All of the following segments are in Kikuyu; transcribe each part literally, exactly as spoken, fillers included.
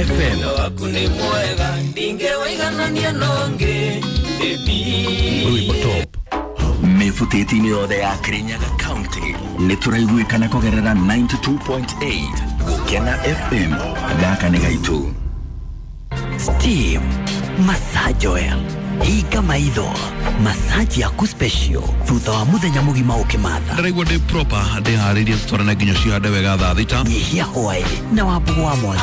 F M. Waku nĩ mwega ndingĩwĩiganania na ũngĩ baby. Rwĩmbo top. Mĩbutĩti-inĩ yothe ya Kirinyaga County nĩ tũraiguĩkana kũgerera ninety-two point eight Gũkena F M. Gaka nĩ gaitũ. Steam Massage Oil. Hinga maitho massage yaku special thutha wa muthenya mugima ukimatha. Ndĩraigua ndĩ proper, ndĩharĩirie tũtwarane nginya cihande wega thaa thita. Nyihia hwaĩ na wambugu wa mwangi.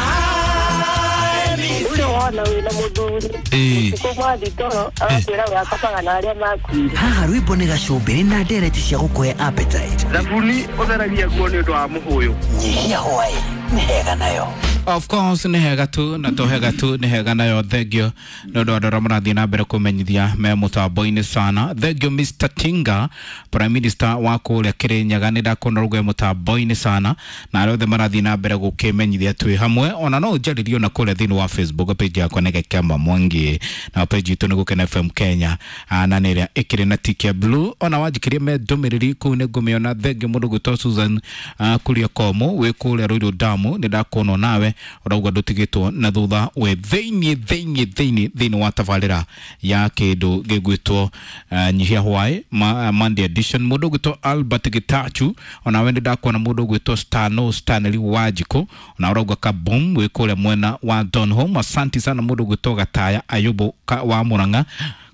Ũcio wona wĩna mũthuri. Ĩĩ. Ũtukũ mwathi toro, agakwĩra we akomaga na arĩa makuire. Haha rwĩmbo nĩ gacũmbĩrĩ na ndereti cia gũkũhe appetite. Thabuni ũtheragia nguo nĩ ũndũ wa mũhũyũ. Nyihia hwaĩ nĩ hega nayo. Of course nĩ hega tu na to hega tu nĩ hega nayo. Thengio nĩ ũndũ wa andũ arĩa marathiĩ na mbere kũmenyithia me mũtambo-inĩ sana. Thengio Mister Tinga, Prime Minister wa kũrĩa Kĩrĩnyaga, nĩ ndakuona rũgwe mũtambo-inĩ sana, na arĩa othe marathiĩ na mbere gũkĩmenyithia twĩ hamwe. Ona no ũnjarĩrie ona kũrĩa thĩinĩ wa Facebook page yakwa nĩ Gĩkĩamba Mwangi, na page itũ nĩ Gũkena F M Kenya, ah, na nĩ ĩrĩa ĩkĩrĩ na tick ya blue. Ona wanjikĩria me ndũmĩrĩri kũu nĩ ngũmĩona. Thengio mũndũ gwĩtwo Susan, ah, Kuria Komu wĩ kũrĩa Ruiru Damu, nĩ ndakuona nawe ũrauga ndũtigĩtwo na thutha we thĩinĩ thĩinĩ thĩinĩ thĩinĩ wa tabarĩra ya kĩndũ gĩgwĩtwo, uh, nyihia hwaĩ ma, Monday edition. Mũndũ ũgwĩtwo Albert Gĩtachu, onawe nĩ ndakuona. Mũndũ ũgwĩtwo Stano Stanley Wanjikũ, ona ũrauga kabum wĩ kũrĩa mwena wa Donholm. Asante sana mũndũ ũgwĩtwo Gataya Ayubu ka, wa Murang'a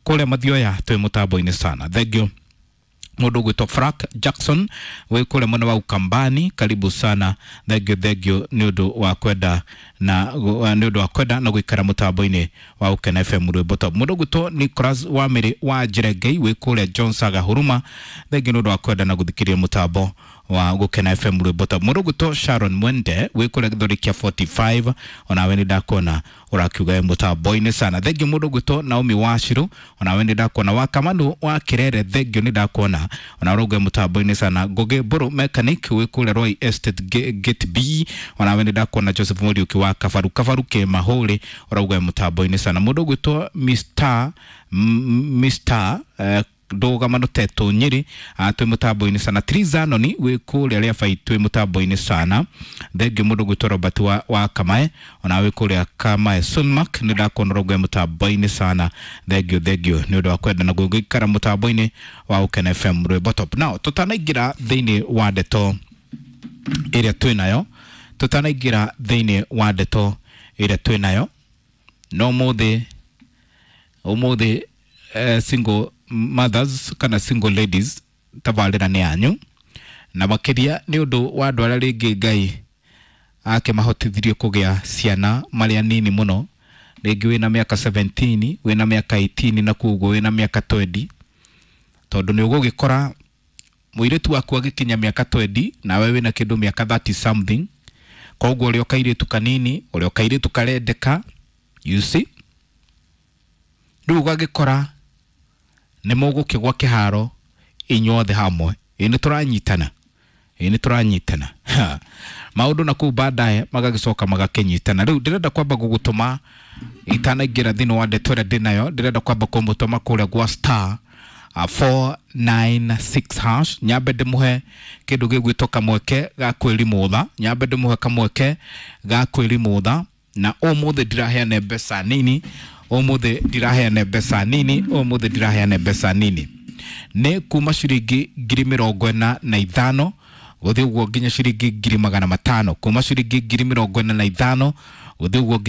kũrĩa Mathioya, twĩ mũtambo-inĩ sana. Thank you. Mũndũ ũgwĩtwo Frank Jackson wĩ kũrĩa mwena wa Ukambani, karibu sana. Thank you, thank you nĩ ũndũ wa kwenda na nĩ ũndũ wa kwenda na gũikara mũtambo-inĩ wa Gũkena F M rwĩmbo top. Mũndũ ũgwĩtwo Nicholas Wamĩrĩ wa Njerengei wĩ kũrĩa John Saga Huruma, thank you nĩ ũndũ wa kwenda na gũthikĩrĩria mũtambo wa Gũkena F M rwĩmbo top. Mũndũ ũgwĩtwo Sharon Mwende wĩ kũrĩa Gĩthũri kĩa forty-five, onawe nĩ ndakuona ũrakiuga wĩ mũtambo-inĩ sana. Thank you mũndũ ũgwĩtwo Naomi Waciru, onawe nĩ ndakuona. Wa Kamanu wa Kirere, thank you nĩ ndakuona ona ũrauga mũtambo-inĩ sana. Ngũgĩ Mbũrũ mechanic wĩ kũrĩa Roy Estate Gate B, onawe nĩ ndakuona. Joseph Muriuki wa Kabaru Kabaru ke Mahũrĩ ũrauga mũtambo-inĩ sana. Mũndũ ũgwĩtwo Mister Mister, eh, ndũgamano Tetũ Nyĩrĩ, ah, twĩ mũtambo-inĩ sana. Trizanoni wĩ kũrĩa Rĩabai, twĩ mũtambo-inĩ sana. Thengiũ mũndũ ũgwĩtwo Robert wa, wa Kamae, ona wĩ kũrĩa Kamae Sunmark, nĩ ndakuona ũrauga mũtambo-inĩ sana. Thengiũ, thengiũ nĩ ũndũ wa kwenda na gũgĩikara mũtambo-inĩ wa Gũkena F M rwĩmbo top. Now tũtanaingĩra thĩinĩ wa ndeto ĩrĩa twĩ nayo, tũtanaingĩra thĩinĩ wa ndeto ĩrĩa twĩ nayo, no ũmũthĩ, ũmũthĩ, eh, single mothers kana single ladies tabarĩra nĩ yanyu, na makĩria nĩ ũndũ wa andũ arĩa rĩngĩ Ngai akĩmahotithirie kũgĩa ciana marĩ anini mũno, rĩngĩ wĩna mĩaka seventeen, wĩna mĩaka eighteen na koguo wĩna mĩaka twenty, tondũ nĩ ũgũgĩkora mũirĩtu waku agĩkinya mĩaka twenty nawe wĩna kĩndũ mĩaka thirty something, koguo ũrĩa kairĩtu kanini, ũrĩa kairĩtu karendeka, you see, rĩu ũgagĩkora nĩ mũgũkĩgwa kĩharo inyuothe hamwe. Ĩ nĩ tũranyitana, ĩ nĩ tũranyitana. Ha. Maũndũ na kũu baadaye magagĩcoka magakĩnyitana. Rĩu ndĩrenda kwamba gũgũtũma itanaingĩra thĩinĩ wa ndeto ĩrĩa ndĩnayo, ndĩrenda kwamba kũmũtũma kũrĩa gwa star, uh, four nine six hash, nyambe ndĩmũhe kĩndũ gĩgwĩtwo kamweke ga kwĩrimũtha, nyambe ndĩmũhe kamweke ga kwĩrimũtha, na ũmũthĩ ndiraheana mbeca nini, ũmũthĩ ndiraheana mbeca nini, ũmũthĩ ndiraheana mbeca nini. Nĩ kuma ciringi ngiri mĩrongo ĩna na ithano gũthiĩ ũguo nginya ciringi ngiri magana matano, kuma ciringi ngiri mĩrongo ĩna na ithano gũthiĩ ũguo nginya